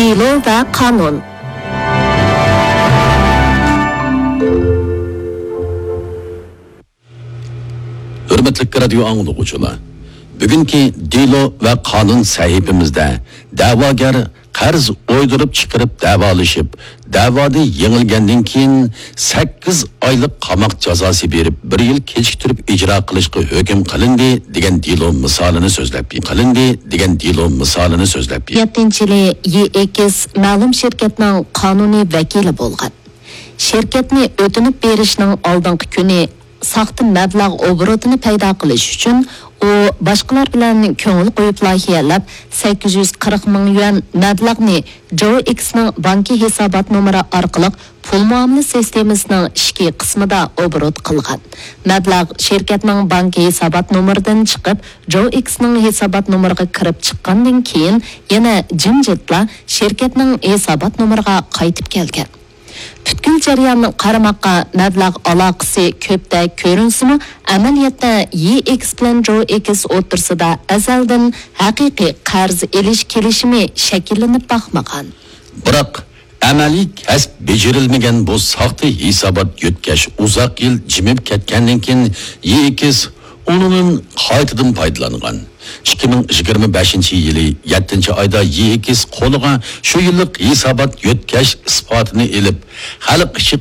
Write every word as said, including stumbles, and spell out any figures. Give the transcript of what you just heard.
دېلو ۋە قانۇن. ھۆرمەتلىك رادىيو ئاڭلىغۇچىلار، بۈگۈنكى دېلو ۋە قانۇن سەھىپىمىزدە دەۋاگەر قەرز ئويدۇرۇپ چىقىرىپ دەۋالىشىپ، دەۋادا يېڭىلگەندىن كېيىن سەككىز ئايلىق قاماق جازاسى بېرىپ، بىر يىل كېچىكتۈرۈپ ئىجرا قىلىشقا ھۆكۈم قىلىندى دېگەن دېلو مىسالىنى سۆزلەپ، قىلىندى دېگەن دېلو مىسالىنى سۆزلەپ. يەتتىنچى يىلى يى ئېكس مەلۇم شىركەتنىڭ قانۇنىي ۋەكىلى بولغان. شىركەتنى ئۆتۈنۈپ بېرىشنىڭ ئالدىنقى كۈنى ساختا مەبلەغ ئوبوروتىنى پەيدا قىلىش ئۈچۈن، ئۇ باشقىلار بىلەن كۆڭۈل قويۇپ لايىھەلەپ، سەككىز يۈز قىرىق مىڭ يۈەن مەبلەغنى جوۋ ئېكسنىڭ بانكا ھېسابات نومۇرى ئارقىلىق پۇل مۇئامىلە سىستېمىسىنىڭ ئىچكى قىسمىدا ئوبوروت قىلغان. مەبلەغ شىركەتنىڭ بانكا ھېسابات نومۇرىدىن چىقىپ، جوۋ ئېكسنىڭ ھېسابات نومۇرىغا كىرىپ چىققاندىن كېيىن، يەنە جىمجىتلا شىركەتنىڭ ھېسابات نومۇرىغا قايتىپ كەلگەن. پۈتكۈل جەرياننى قارىماققا مەبلەغ ئالاقىسى كۆپتەك كۆرۈنسىمۇ، ئەمەلىيەتتە يى ئېكس بىلەن جوۋ ئېكس ئوتتۇرىسىدا ئەزەلدىن ھەقىقىي قەرز ئېلىش كېلىشىمى شەكىللىنىپ باقمىغان. بىراق، ئەمەلىي كەسىپ بېجىرىلمىگەن بۇ ساختا ھېسابات يۆتكەش ئۇزاق يىل جىمىپ كەتكەندىن كېيىن، يى ئېكس ئۇنىڭدىن قايتىدىن پايدىلانغان. ئىككى مىڭ يىگىرمە بەشىنچى يىلى يەتتىنچى ئايدا يى ئېكس قولىغا شۇ يىللىق ھېسابات يۆتكەش ئىسپاتىنى ئېلىپ، خەلق ئىچى